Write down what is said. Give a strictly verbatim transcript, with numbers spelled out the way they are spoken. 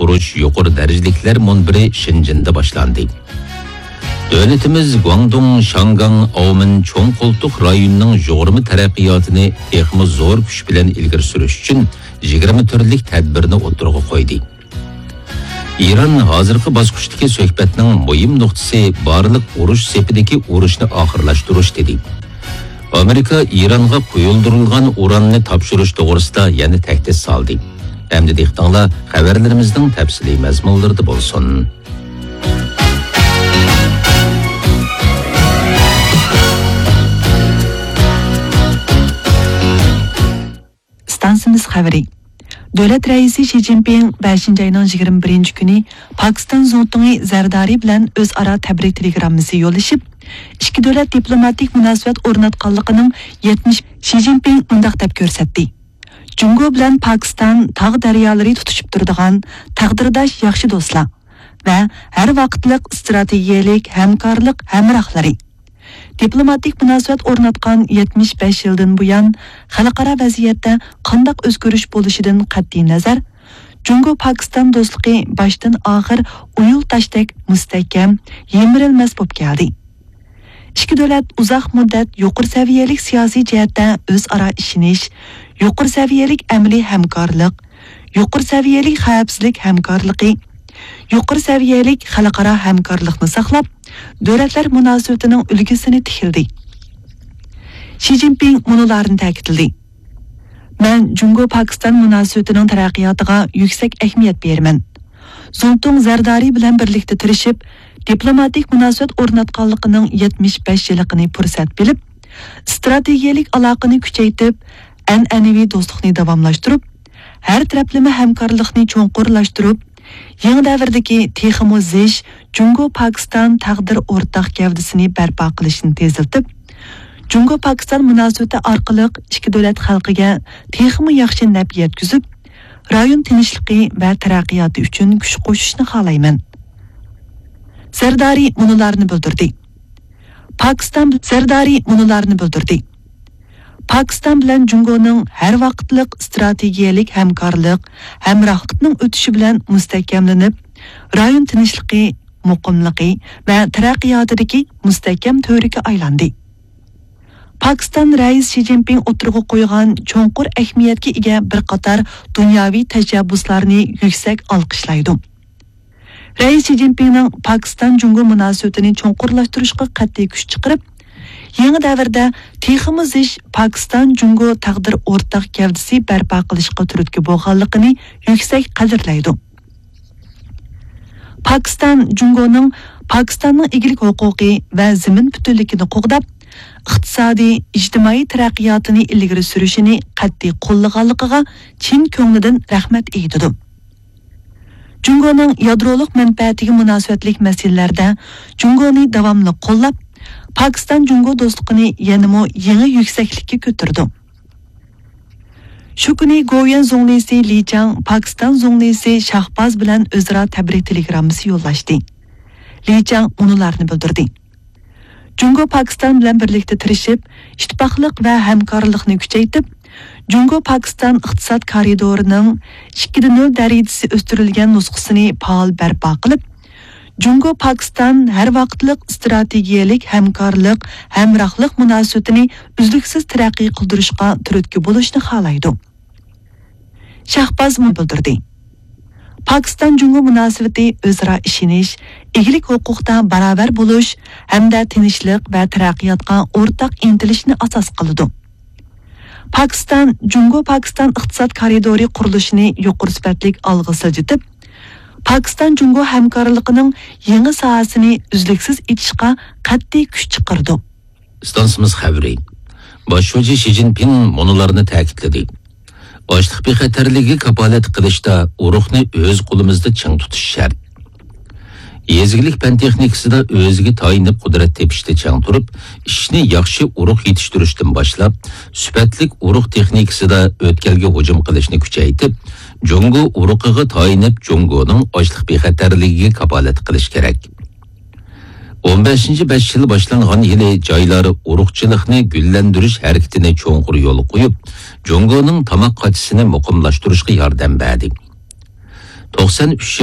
ئۇرۇش يۇقىرى دەرىجىلىكلەر مۇنبىرى شېنجېندا باشلاندى. دۆلىتىمىز گۇاڭدۇڭ، شاڭگاڭ، ئاۋمېن چوڭ قولتۇق رايونىنىڭ يۇغۇرما تەرەققىياتىنى تېخىمۇ زور كۈچ بىلەن ئىلگىرى سۈرۈش ئۈچۈن يىگىرمە تۈرلۈك تەدبىرنى ئوتتۇرىغا قويدى. ئىران ھازىرقى باسقۇچتىكى سۆھبەتنىڭ مۇھىم نۇقتىسى بارلىق ئۇرۇش سېپىدىكى ئۇرۇشنى ئاخىرلاشتۇرۇش، دېدى. ئامېرىكا ئىرانغا قويۇلدۇرۇلغان ئۇراننى تاپشۇرۇش توغرىسىدا يەنە تەھدىت سالدى. ئەمدى دىققىتىڭلار خەۋەرلىرىمىزنىڭ تەپسىلىي مەزمۇنلىرىدا بولسۇن. ئىستانسىمىز خەۋىرى. دۆلەت رەئىسى شى جىنپىڭ بەشىنچى ئاينىڭ يىگىرمە بىرىنچى كۈنى پاكىستان زۇڭتۇڭى زەردارى بىلەن ئۆزئارا تەبرىك تېلېگراممىسى يوللىشىپ، ئىككى دۆلەت دىپلوماتىك مۇناسىۋەت ئورناتقانلىقىنىڭ يەتمىش، شى جىنپىڭ مۇنداق دەپ كۆرسەتتى: جۇڭگو بىلەن پاكىستان تاغ دەريالىرى تۇتىشىپ تۇرىدىغان تەقدىرداش ياخشى دوستلار ۋە ھەر ۋاقىتلىق ئىستراتېگىيەلىك ھەمكارلىق ھەمراھلىرى. دىپلوماتىك مۇناسىۋەت ئورناتقان يەتمىش بەش يىلدىن بۇيان، خەلقئارا ۋەزىيەتتە قانداق ئۆزگىرىش بولۇشىدىن قەتئىينەزەر، جۇڭگو پاكىستان دوستلۇقى باشتىن ئاخىر ئويۇل تاشتەك مۇستەھكەم، يىمىرىلمەس بولۇپ كەلدى. ئىككى دۆلەت ئۇزاق مۇددەت يۇقىرى سەۋىيەلىك سىياسىي جەھەتتە ئۆزئارا ئىشىنىش، يۇقىرى سەۋىيەلىك ئەمەلىي ھەمكارلىق، يۇقىرى سەۋىيەلىك خەۋپسىزلىك ھەمكارلىقى، يۇقىرى سەۋىيەلىك خەلقئارا ھەمكارلىقنى ساقلاپ، دۆلەتلەر مۇناسىۋىتىنىڭ ئۈلگىسىنى تىكلىدى. شى جىنپىڭ مۇنۇلارنى تەكىتلىدى: مەن جۇڭگو پاكىستان مۇناسىۋىتىنىڭ تەرەققىياتىغا يۈكسەك ئەھمىيەت بېرىمەن. زۇڭتۇڭ زەردارى بىلەن بىرلىكتە تىرىشىپ، دىپلوماتىك مۇناسىۋەت ئورناتقانلىقىنىڭ يەتمىش بەش يىللىقىنى پۇرسەت بىلىپ، ئىستراتېگىيەلىك ئالاقىنى كۈچەيتىپ، ئەنئەنىۋى دوستلۇقنى داۋاملاشتۇرۇپ، ھەر تەرەپلىمە ھەمكارلىقنى چوڭقۇرلاشتۇرۇپ، يېڭى دەۋردىكى تېخىمۇ زىچ جۇڭگو پاكىستان تەقدىر ئورتاق گەۋدىسىنى بەرپا قىلىشنى تېزلىتىپ، جۇڭگو پاكىستان مۇناسىۋىتى ئارقىلىق ئىككى دۆلەت خەلقىگە تېخىمۇ ياخشى نەپ يەتكۈزۈپ، رايون تىنچلىقى ۋە تەرەققىياتى ئۈچۈن كۈچ قوشۇشنى خالايمەن. زەردارى مۇنۇلارنى بىلدۈردى. پاكىستان زەردارى مۇنۇلارنى بىلدۈردى. پاكىستان بىلەن جۇڭگونىڭ ھەر ۋاقىتلىق ئىستراتېگىيەلىك ھەمكارلىق، ھەمراھلىقنىڭ ئۆتۈشى بىلەن مۇستەھكەملىنىپ، رايون تىنچلىقى، مۇقىملىقى ۋە تەرەققىياتىدىكى مۇستەھكەم تۈۋرۈككە ئايلاندى. پاكىستان رەئىسى شى جىنپىڭ ئوتتۇرىغا قويغان چوڭقۇر ئەھمىيەتكە ئىگە بىر قاتار دۇنياۋى تەشەببۇسلارنى يۈكسەك ئالقىشلايدۇ. رەئىس شى جىنپىڭنىڭ پاكىستان جۇڭگو مۇناسىۋىتىنى چوڭقۇرلاشتۇرۇشقا قەتئىي كۈچ چىقىرىپ، يېڭى دەۋردە تېخىمۇ زىچ پاكىستان جۇڭگو تەقدىر ئورتاق گەۋدىسى بەرپا قىلىشقا تۈرتكە بولغانلىقىنى يۈكسەك قەدىرلەيدۇ. پاكىستان جۇڭگونىڭ پاكىستاننىڭ ئىگىلىك ھوقۇقى ۋە زېمىن پۈتۈنلۈكىنى قوغداپ، ئىقتىسادىي، ئىجتىمائىي تەرەققىياتىنى ئىلگىرى سۈرۈشىنى قەتئىي قوللىغانلىقىغا چىن كۆڭلىدىن رەھمەت ئېيتىدۇ. جۇڭگونىڭ يادرولۇق مەنپەئەتىگە مۇناسىۋەتلىك مەسىلىلەردە جۇڭگونى داۋاملىق قوللاپ، پاكىستان جۇڭگو دوستلۇقىنى يەنىمۇ يېڭى يۈكسەكلىككە كۆتۈرىدۇ. شۇ كۈنى گوۋۇيۈەن زۇڭلىسى لى چاڭ پاكىستان زۇڭلىسى شاھباز بىلەن ئۆزئارا تەبرىك تېلېگراممىسى يوللاشتى. لى چاڭ مۇنۇلارنى بىلدۈردى: جۇڭگو پاكىستان بىلەن بىرلىكتە تىرىشىپ، ئىتتىپاقلىق ۋە ھەمكارلىقنى كۈچەيتىپ، جۇڭگو پاكىستان ئىقتىساد كارىدورىنىڭ ئىككىدە نۆل دەرىجىسى ئۆستۈرۈلگەن نۇسخىسىنى پائال بەرپا قىلىپ، جۇڭگو پاكىستان ھەر ۋاقىتلىق ئىستراتېگىيەلىك ھەمكارلىق، ھەمراھلىق مۇناسىۋىتىنى ئۈزلۈكسىز تەرەققىي قىلدۇرۇشقا تۈرتكە بولۇشنى خالايدۇ. شاھباز مۇنۇ بىلدۈردى: پاكىستان جۇڭگو مۇناسىۋىتى ئۆزئارا ئىشىنىش، ئىگىلىك ھوقۇقتا باراۋەر بولۇش ھەمدە تىنچلىق ۋە تەرەققىياتقا ئورتاق ئىنتىلىشنى ئاساس قىلىدۇ. پاكىستان جۇڭگو پاكىستان ئىقتىساد كارىدورى قۇرۇلۇشىنى يۇقىرى سۈپەتلىك ئالغا سىلجىتىپ، پاكىستان جۇڭگو ھەمكارلىقىنىڭ يېڭى ساھەسىنى ئۈزلۈكسىز ئېچىشقا قەتئىي كۈچ چىقىرىدۇ. ئىستانسىمىز خەۋىرى. باش شۇجى شى جىنپىڭ مۇنۇلارنى تەكىتلىدى: ئاشلىق بىخەتەرلىكىگە كاپالەت قىلىشتا ئۇرۇقنى ئۆز قولىمىزدا چىڭ تۇتۇش شەرت. يېزا ئىگىلىك پەن تېخنىكىسىدا ئۆزىگە تايىنىپ قۇدرەت تېپىشتا چىڭ تۇرۇپ، ئىشنى ياخشى ئۇرۇق يېتىشتۈرۈشتىن باشلاپ، سۈپەتلىك ئۇرۇق تېخنىكىسىدا ئۆتكەلگە ھۇجۇم قىلىشنى كۈچەيتىپ، جۇڭگو ئۇرۇقىغا تايىنىپ، جۇڭگونىڭ ئاشلىق بىخەتەرلىكىگە كاپالەت قىلىش كېرەك. ئون بەشىنچى بەش يىل باشلانغان يىلى جايلار ئۇرۇقچىلىقنى گۈللەندۈرۈش ھەرىكىتىنى چوڭقۇر يولغا قويۇپ، جۇڭگونىڭ تاماق قاچىسىنى مۇقىملاشتۇرۇشقا ياردەم بەردى. توقسان ئۈچ